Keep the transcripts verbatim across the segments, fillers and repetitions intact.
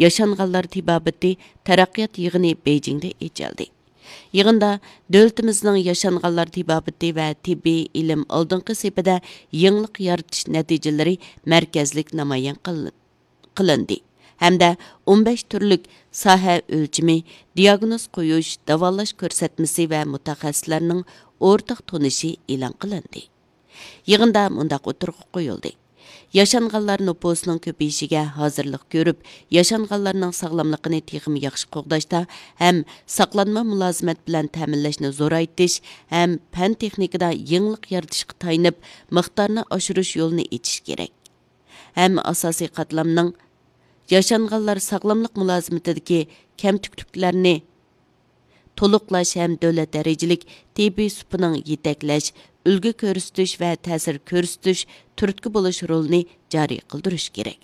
ياشانغانلار تېبابىتى تەرەققىيات يىغىنى بېيجىڭدا ئېچىلدى. يىغىندا دۆلىتىمىزنىڭ ياشانغانلار تېبابىتى ۋە تېببىي ئىلىم ئالدىنقى سېپىدە يېڭىلىق يارىتىش نەتىجىلىرى مەركەزلىك نامايان قىلىندى. قىلىندى ھەمدە ئون بەش تۈرلۈك ساھە ئۆلچىمى، دىياگنوز قويۇش، داۋالاش كۆرسەتمىسى ۋە مۇتەخەسسىسلەرنىڭ ئورتاق تونۇشى ئېلان قىلىندى. يىغىندا مۇنداق ئوتتۇرىغا قويۇلدى: ياشانغانلار نوپۇسىنىڭ كۆپىيىشىگە ھازىرلىق كۆرۈپ، ياشانغانلارنىڭ ساغلاملىقىنى تېخىمۇ ياخشى قوغداشتا ھەم ساقلانما مۇلازىمەت بىلەن تەمىنلەشنى زورايتىش ھەم پەن تېخنىكىدا يېڭىلىق يارىتىشقا تايىنىپ، مىقدارنى ئاشۇرۇش يولىنى ئېچىش كېرەك. ھەم ئاساسىي قاتلامنىڭ ياشانغانلار ساغلاملىق مۇلازىمىتىدىكى كەمتۈكلۈكلەرنى تولۇقلاش ھەم دۆلەت دەرىجىلىك تېببىي سۇپىنىڭ يېتەكلەش، ئۈلگە كۆرسىتىش ۋە تەسىر كۆرسىتىش تۈرتكە بولۇش رولىنى جارى قىلدۇرۇش كېرەك.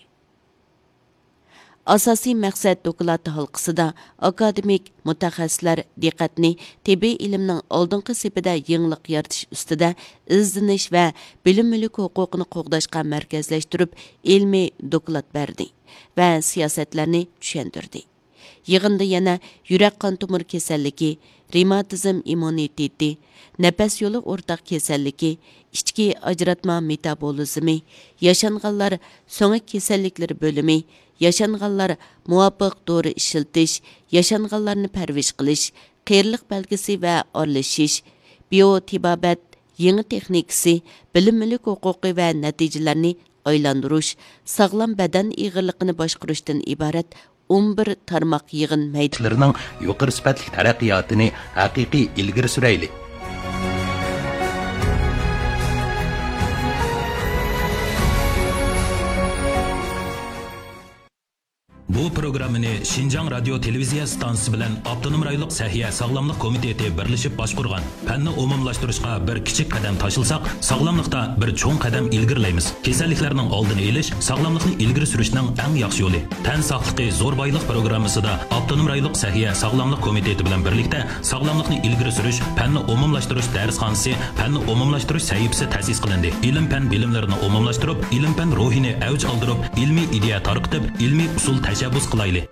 ئاساسىي مەقسەت دوكلات ھالقىسىدا ئاكادېمىك مۇتەخەسسىسلەر دىققەتنى تېببىي ئىلىمنىڭ ئالدىنقى سېپىدە يېڭىلىق يارىتىش ئۈستىدە ئىزدىنىش ۋە بىلىم مۈلۈك ھوقۇقىنى قوغداشقا مەركەزلەشتۈرۈپ، ئىلمىي دوكلات بەردى ۋە سىياسەتلەرنى چۈشەندۈردى. يىغىندا يەنە يۈرەك قان تومۇر كېسەللىكى، رېماتىزم ئىممۇنىتېتى، نەپەس يولى ئورتاق كېسەللىكى، ئىچكى ئاجراتما مېتابولىزمى، ياشانغانلار سۆڭەك كېسەللىكلىرى بۆلۈمى، ياشانغانلار مۇۋاپىق دورا ئىشلىتىش، ياشانغانلارنى پەرۋىش قىلىش، قېرىلىق بەلگىسى ۋە ئارىلىشىش، بىيو تېبابەت يېڭى تېخنىكىسى، بىلىم مۈلۈك ھوقۇقى ۋە نەتىجىلەرنى ئايلاندۇرۇش، ساغلام بەدەن ئېغىرلىقىنى باشقۇرۇشتىن ئىبارەت ئون بىر تارماق يىغىن مەيدانى. يۇقىرى سۈپەتلىك تەرەققىياتىنى ھەقىقىي ئىلگىرى سۈرەيلى. بۇ پروگراممىنى شىنجاڭ رادىيو تېلېۋىزىيە ئىستانسىسى بىلەن ئاپتونوم رايونلۇق سەھىيە ساغلاملىق كومىتېتى بىرلىشىپ باشقۇرغان. پەننى ئومۇملاشتۇرۇشقا بىر كىچىك قەدەم تاشلىساق، ساغلاملىقتا بىر چوڭ قەدەم ئىلگىرىلەيمىز. كېسەللىكلەرنىڭ ئالدىنى ئېلىش، ساغلاملىقنى ئىلگىرى سۈرۈشنىڭ ئەڭ ياخشى يولى. تەن ساقلىقى زور بايلىق پروگراممىسىدا ئاپتونوم رايونلۇق سەھىيە ساغلاملىق كومىتېتى بىلەن بىرلىكتە ساغلاملىقنى ئىلگىرى سۈرۈش، پەننى ئومۇملاشتۇرۇش دەرسخانىسى، پەننى ئومۇملاشتۇرۇش سەھىپىسى تەسىس قىلىندى. ئىلىم-پەن بىلىملىرىنى ئومۇملاشتۇرۇپ، ئىلىم-پەن روھىنى ئەۋج ئالدۇرۇپ، ئىلمىي ئىدىيە تارقىتىپ، ئىلمىي ئۇسۇل تەشەببۇس قىلايلى.